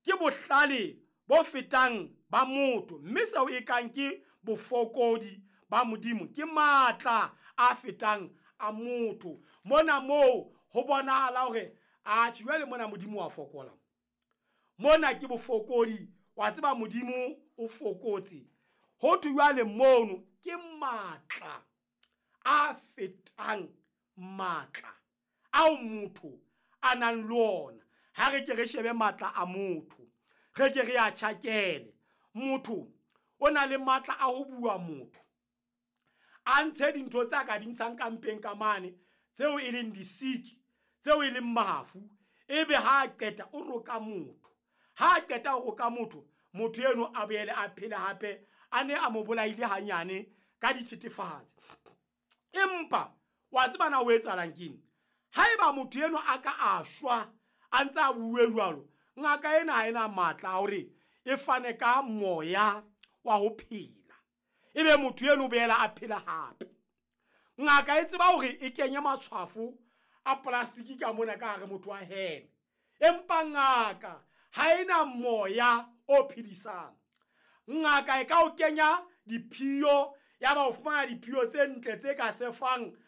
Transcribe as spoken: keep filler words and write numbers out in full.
ke bohlale bo fetang ba motho, mme seo e kang ke bofokodi ba Modimo ke matla a fetang a motho. Mona moo ho bonahala hore atjhe jwale mona Modimo wa fokola. Mona ke bofokodi, wa tseba Modimo o fokotse. Ho thwe jwale mono ke matla a fetang matla ao motho a nang le ona. Ha re ke re shebe matla a motho, re ke re a tjhakele. Motho o na le matla a ho bua motho, a ntshe dintho tse a ka di ntshang ka mpeng ka mane, tseo e leng disiki, tseo e leng mafu. Ebe ha a qeta o roka motho. Ha a qeta ho roka motho, motho eno a boele a phele hape, a ne a mo bolaile hanyane ka dithethefatsi. Empa wa tseba na ho etsahalang keng? Haeba motho eno a ka a shwa a ntse a bue jwalo, ngaka ena ha ena matla a hore e fane ka moya wa ho phela. Ebe motho eno o boela a phela hape. Ngaka e tseba hore e kenye matshwafo a plastic ka mona ka hare motho a heme. Empa ngaka ha ena moya o phedisang. Ngaka e ka o kenya diphiyo, ya ba o fumana diphiyo tse ntle tse ka sefang